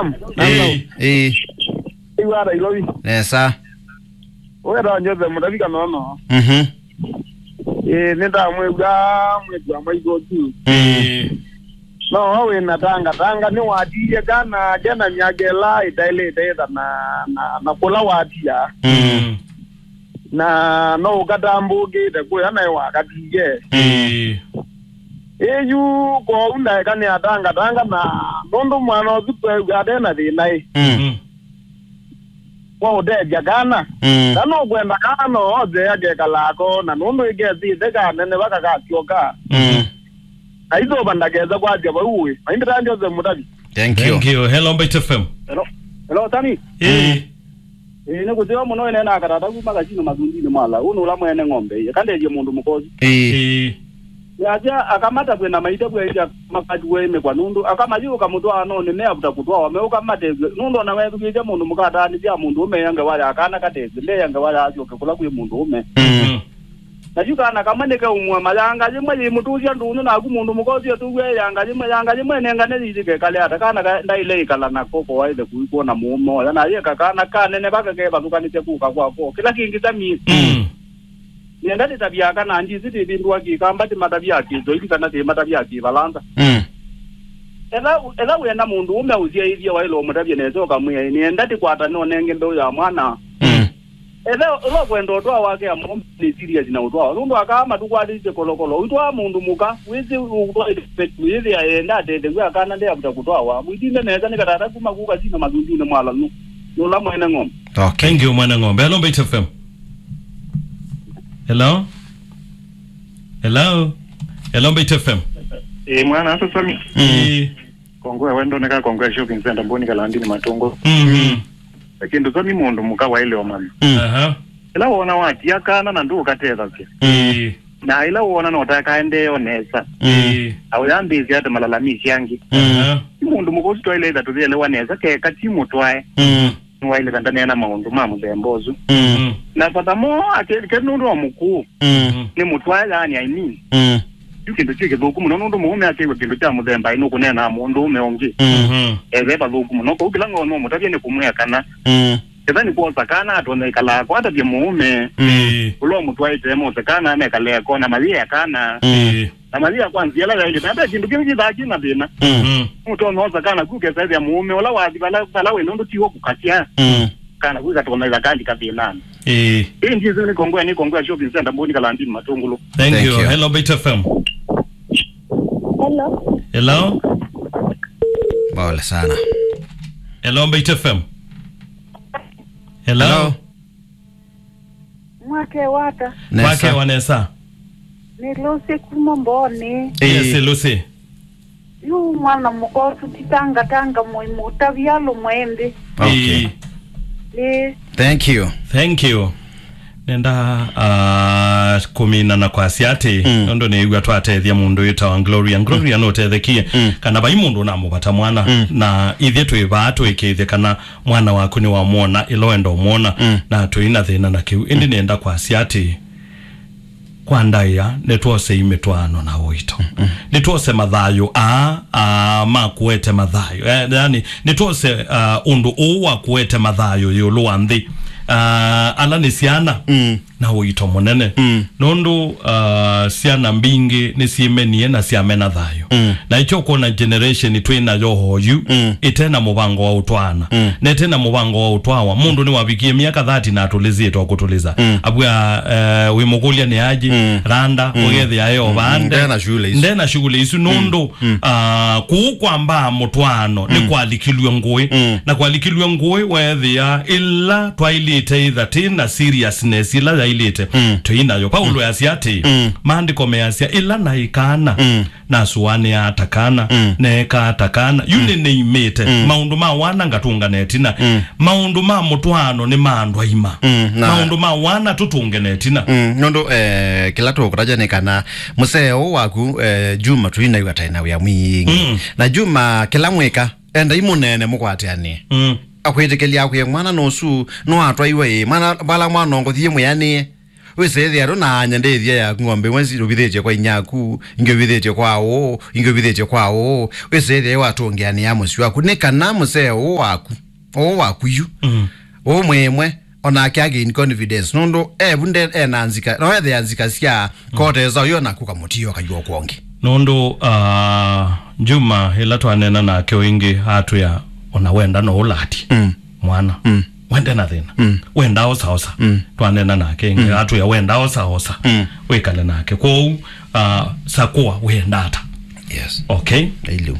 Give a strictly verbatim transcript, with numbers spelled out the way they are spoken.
Ĩĩ, ĩĩ. Iwa Nairobi. Nesa. Wetha Joseph Mutavi Kanono. Mhm. Ĩĩ, nĩndamwĩw'a mwĩĩtu wa maitũ tu. Mm. Ĩĩ. No we wĩ na tanga, tanga nĩwatiie kana kena myaka ĩla ĩtaĩlĩte ĩtha na, na, na kũla watia. Mm. Na no ũkatambũkĩte kũya naĩ wakatiie. Mm. Ĩĩ. Ĩĩ yu kwoou ndaeka nĩ atangatanga na nũndũ mwana ũsu tweew'a ate na thĩna ĩ. Mm. Mm. Kwa ũtethya kana. Mm. Na nũkwenda kana no othe akekalaa ko na nũndũ ĩkesĩte kanene vakakasyoka. Mm. Aitũva ndakesa kwasya vau ĩ. Maindĩ ta Joseph Mutavi. Thank you. Thank you. Hello, Mbaitu F M. Hello. Hello, Tani. Ĩĩ. Ĩĩ, nĩ kũseo mũno ĩneenaa katata kuma kasino mathundinĩ mwa la. Ũnũ ũla mwene ng'ombe. Ĩĩ, kandethye mũndũ mũkosi. Ĩĩ. Ĩĩ. Yasya akamata kwĩna maitavw'a ĩndĩ akamatuwe ĩmekwa nũndũ akamayĩũka mũtwaanonĩ meavuta kũtwawa meũka matethw'e nũndũ ona wethukĩĩsya mũndũ mũka ataanĩsya mũndũ ũme ya ngewa ya kana katethw'e ndeya ngewa ya asyoke kũla kwĩ mũndũ ũme. Mm. Na yu kana kamwe nĩkeumw'a mayanga yĩmwe yĩimũtũsya ndũnyũ naku mũndũ mũka ũsu etũw'a ĩyanga yĩmwe yanga yĩmwe ĩnengane yĩyĩke kale ata kana ka- ndaĩle ĩkala nako koaĩle kũi kwona mũũme oya na yĩeka kana kanene vaka kevathũkanĩsya kũka kwako kĩla kĩngĩ tamie. Mm. Nĩenda nĩtavya kana ndisi tĩvĩndũa kĩkamba tĩmatavya kĩswaili kana tĩmatavya kĩvalanza. Mm. Ela ela wĩenda mũndũ ũme ũsyaĩthya waĩle ũmũtavya nesa ũkamwĩa nĩenda tĩkwata nonenge mbeũ ya mwana. Mm. Ela ũla ũkwenda ũtwaa wake ya mũũme nĩ serious na ũtwaa nũndũ akaa matũkwatĩsye kolokolo ũitwaa mũndũ mũka wĩsĩ ũtwaĩte yĩthĩa enda atethew'a akana ndeavuta kũtwawa mwitinde nesa nĩ katata kuma kuka sino mathundunĩ mwalanu nũla mwene ng'ombe. Okay. Thank you, mwene ng'ombe. Hello, Mbaitu F M. Hello? Hello? Hello, Mbaitu F M. Ĩĩ, mwana, asa Sami. Mm. Ĩĩ. Kongwe, wendo neka Kongwe Shopping Center, Mboni Kalandini Matungo. Mhm. Lakini Sami mũndũ mũka waĩle ũmanya. Mm. Aha. Ĩla wona watia kana na ndũkatethasya. Mm. Na ĩla wona no ũtakaendeo nesa. Mm. Ĩĩ. Aũyambĩĩsya ate malalamisi angĩ. Mm. Aha. Ti mũndũ mũka ũsu twaĩle ĩtha tũthĩelewa nesa, keka ti mũtwae. Mm. Nĩwaĩle kandaneena maũndũ ma mũthemba ũsu. Mm. Na furthermore, ake ke nũndũ wa mũkũũ. Mm. Nĩ mũtwae, yaani, I mean. Mm. Yu kĩndũ kĩ kĩthũku mũno, nũndũ mũũme akĩw'a kĩndũ kya mũthemba ĩno kũneenaa mũndũũme ũngĩ. Mm. Mhm. Eve vathũku mũno. Kũu kĩla ngoo no mũtavye nĩ kũmwĩa kana. Mm. Ketha nĩ kwosa kana atonya ĩkalaa ko atavye mũũme. Mm. Ĩĩ. Ũla ũmũtwaĩte mose kana mekale ko na mayĩa kana. Mm. Ĩĩ. Na mathi ya kwa nzĩa ĩla yaĩlĩte, na ve kĩndũ kĩngĩ kĩthaa kĩ na thĩna. Mm. Mm. Nũtonya osa kana ku kesa ĩthĩa mũũme ũla wathi vala, vala wĩ nũndũ tiwo kũkasya. Mm. Kana ku ikatonya ĩtha kali kathĩnanĩ. Ĩĩ. Ĩĩ, ndiĩsĩ nĩ Kongwea, nĩ Kongwea Shopping Center, Mboni Kalandini Matũngũlũ. Thank Thank you. you. Hello, Mbaitu F M. Hello. Hello? Pole sana. Hello, Mbaitu F M. Hello? Hello? Mwake wata. Nesa. Mwake wa nesa. Nĩ Lucy kuma Mboni. Yes, Ĩĩ. Lucy. Yu mwana mũkosu titangatanga mũi mũtavya lũmwe ĩndĩ. Okay. Ĩĩ. Ĩĩ. Thank you. Thank you. Nenda uh, kũmina na kwasya atĩ Mm. nũndũ nĩw'a twatethya mũndũ wĩtawa Gloria. Gloria nũtethekie Mm. kana vai mũndũ ũnamũvata mwana Mm. na ithyĩ twĩ vaa tũĩkĩĩthye kana mwana waku nĩwamwona ĩla wenda ũmwona Mm. na tũi na thĩna na kĩu. Ĩndĩ nĩenda kwasya atĩ kwa ndaĩa nĩtwosei mĩtwaano na ũito. Mm. Nĩtwose mathayũ aa, aa ma kũete mathayũ. Eh, yani, nĩtwose uh, ũndũ ũũ wa kũete mathayũ ĩũlũ wa nthĩ. Uh, ala nĩ syana Mm. na ũito mũnene. Mm. Nũndũ uh, syana mbingĩ nĩsyĩmenie na syamena thayũ. Mm. Na ĩkyo kwona generation twĩ nayo oyu Mm. ĩte na mũvango wa ũtwaana. Mm. Na ĩte na mũvango wa ũtwawa. Mũndũ nĩwavikie myaka thirty na atũlĩsĩtwe kũtũlĩsa. Mm. Abua uh, wĩmũkũlya nĩ aji, Mm. randa, Mm. ũgethĩa e o Mm. vaa nde. Nde na shughuli isu. Nde na shughuli isu nũndũ Mm. uh, kũu kwambaa mũtwaano nĩ Mm. kwalikilw'e ngũĩ. Mm. Na kwalikilw'e ngũĩ weethĩa ĩla twailĩte ĩtha tĩ na seriousness ĩla yailĩte Mm. tũi nayo. Paulo Mm. easya atĩ Mm. maandĩko measya ĩla naĩ kana Mm. nasũanĩaa ta kana, Mm. neekaa ta kana. Yu Mm. nĩnĩimĩte. Mm. Maũndũ ma wana ngatũnga na ĩtina. Mm. Maũndũ ma mũtwaano nĩ ma andũ aima. Mm, na Maũndũ ma wana tũtũnge na ĩtina. Mm, nũndũ eh, kĩla tũkũtaja nĩ kana mũseo ũũ waku eh, Juma tũinaĩw'a taĩ na wĩa mwingĩ. Mm. Na Juma kĩla mwĩka, endai mũneene mũkwatĩanĩe. Mm. Akwĩtĩkĩlya akwĩe mwana nũsu nĩwatwaiwe ĩ. Mwana vala mwana ũngũthie mwĩanĩe. Wĩsĩthĩa ndũ na anya ndĩthya yaku, ng'ombe imwe ũvithĩtye kwa inyaku, ingĩ ũvithĩtye kwa ũũ, ingĩ ũvithĩtye kwa ũũ. Wĩsĩthĩa watũngĩanĩa mũsyĩ waku, nĩ kana mũsee ũũ waku, ũũ waku yu, Mm. ũũ mwĩmwe, onake again confidence. Nũndũ evu nde ena nzika, no ethĩa nzika sya kotesa ũyo naku kamũtio kayũa kwongi. Nũndũ, ah, Juma, ĩla twanena nake ũingĩ, atwĩa, "Ona wenda no ũlati." Mm. Mwana. Mm. Wende na thĩna. Mm. Wenda osa osa. Mm. Twanena nake ĩngĩ, atwĩa, "Wenda osa osa." Mm. Wĩkale nake. Kwoou, ah, sakũa wenda ata. Yes. Okay? Ĩlĩ.